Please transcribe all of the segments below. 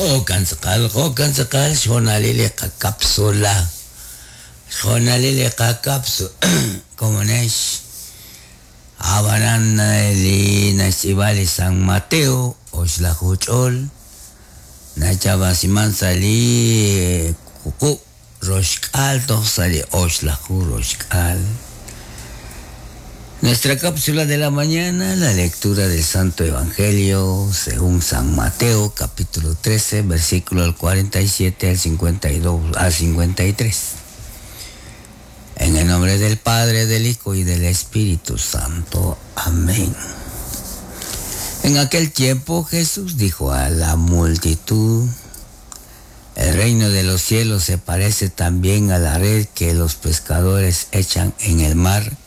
Jo'kan tz'aqal, jo'kan tz'aqal xhoonalil li qakapsula. Xhoonalil li qakapsula. Komonex. Ab'anan li naxtz'iib'a li San Mateo oxlaju ch'ol nachab'asiman sa' li wuqub' roxk'aal toj sa' li oxlaju roxk'aal. Nuestra cápsula de la mañana, la lectura del Santo Evangelio según San Mateo, capítulo 13, versículo al 47 al 52 al 53. En el nombre del Padre, del Hijo y del Espíritu Santo. Amén. En aquel tiempo Jesús dijo a la multitud, el reino de los cielos se parece también a la red que los pescadores echan en el mar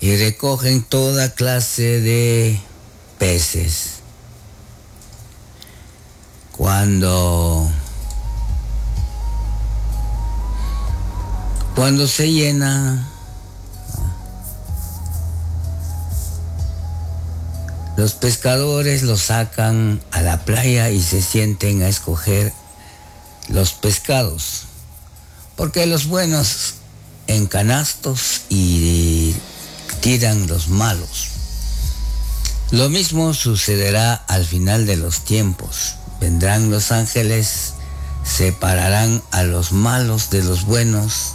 y recogen toda clase de peces. Cuando, cuando se llena, los pescadores los sacan a la playa y se sienten a escoger los pescados, porque los buenos en canastos y tiran los malos. Lo mismo sucederá al final de los tiempos. Vendrán los ángeles, separarán a los malos de los buenos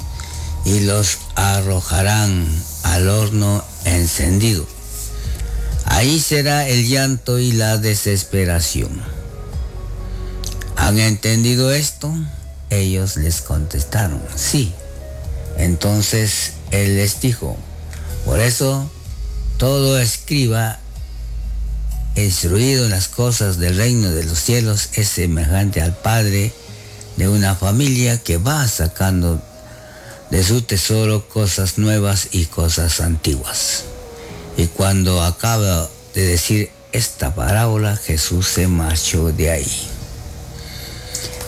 y los arrojarán al horno encendido. Ahí será el llanto y la desesperación. ¿Han entendido esto? Ellos les contestaron, sí. Entonces él les dijo, por eso todo escriba instruido en las cosas del reino de los cielos es semejante al padre de una familia que va sacando de su tesoro cosas nuevas y cosas antiguas. Y cuando acaba de decir esta parábola, Jesús se marchó de ahí.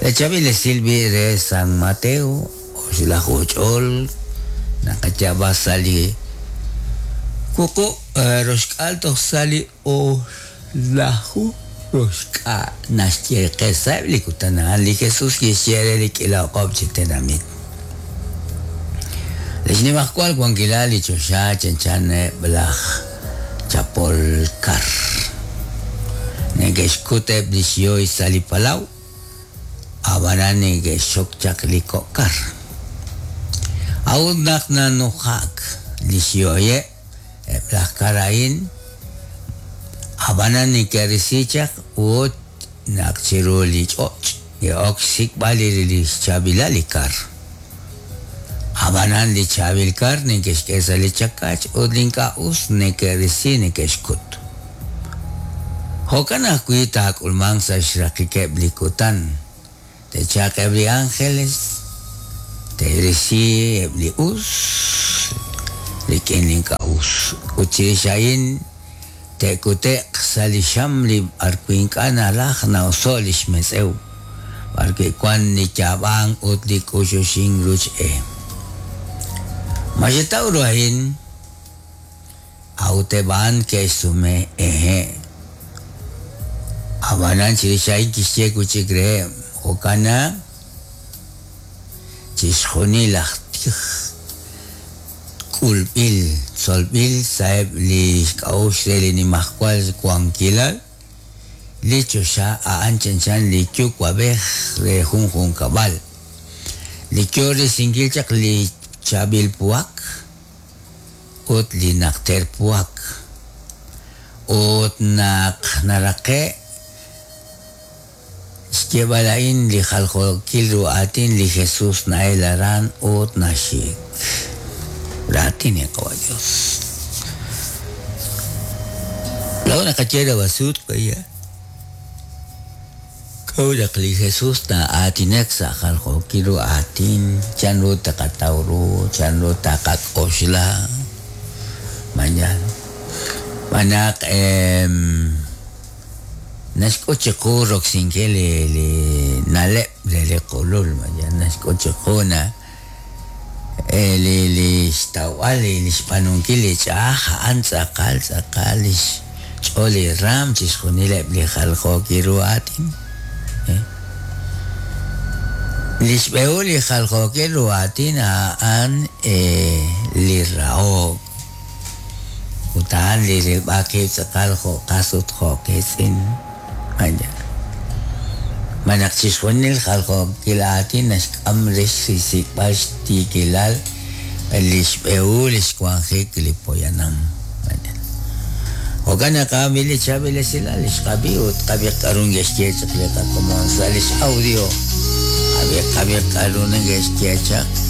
Le chavile silvi de San Mateo, oxlajuchol, nakachaba sali, kuku roxk'al toj sali oxlaju roxk'a naxyeqesab li kutan a'an li Jesús kixye re li k'ila oqob' chi tenamit. Li xnimajwal wankilal li choxa chanchan eb' laj chapol kar. Neke'xkut eb' li xyoy sa' li palaw, ab'anan neke'xxok chaq li kok' kar. A'ut naq nanujak li xyoyeb' eb' laj kar a'in, ab'anan neke'risi chaq ut naq chiru li ch'och' ke'ok xsik'b'al li xchaab'ilal li kar. Ab'anan li chaab'il kar neke'xk'e sa' li chakach ut li ink'a' us neke'risi neke'xkut. Jo'kan ajwi' taak'ulmanq sa' xraqikeb' li kutan. Te'chalq eb' li ángeles, te'risi eb' li us rik'in li ink'a' us. Ut chirix a'in te'kute'q sa' li xam li b'arwi' ink'a' nalaj na'oso' li xmetz'ew, b'arwi' wan li yaab'ank ut li k'uxuxink ruch e. Ma xetaw ru a'in? A'ut eb' a'an ke'xsume, Hehe'. Ab'anan chirix a'in kixye wi' chik reheb', Jo'kan naq chixjunil laj tij k'ulb'il tzolb'il sa'eb' li xk'a'uxl re li nimajwal wankilal, li choxa a'an chanchan li yuwa'b'ej re jun junkab'al, li yo risinkil chaq li chaab'il puhak ut li najter puhak. Ut naq naraqe' xyeeb'al a'in li jaljookil ru aatin li Jesús na'el aran ut naxik. Raatin li Qawa' Dios. Laa'o naqaye rawasut qaya. K'a'ut naq li Jesús na'aatinak sa' jaljookil ru aatin, chanru taqataw ru, chanru taqak'oxla. Mañana. Manaq naxk'ut chiqu roksinkil li li na'leb' re li qulul, mañana naxk'ut chiqu na li li xtawb'al li xb'aanunkil li ch'a'aj a'an tz'aqal tz'aqal li xch'ool li raam chixjunileb' li jaljookil ru aatin. Li xb'ehul li jaljookil ru aatin a'an li rahok, ut a'an li rilb'al qib' tz'aqal jo' qas ut jo' qiitz'in. Xb'aan naq chixjunil jaljookil aatin naxk'am rix xsik'b'al xtiikilal li xb'ehul li xwanjik li poyanam. Jo'kan naq a'an li chaab'il esilal li xqab'i ut qab'i k'aru neke'xye chaq li qakomon sa' li x'audio. Qab'i qab'i k'aru neke'xye chaq.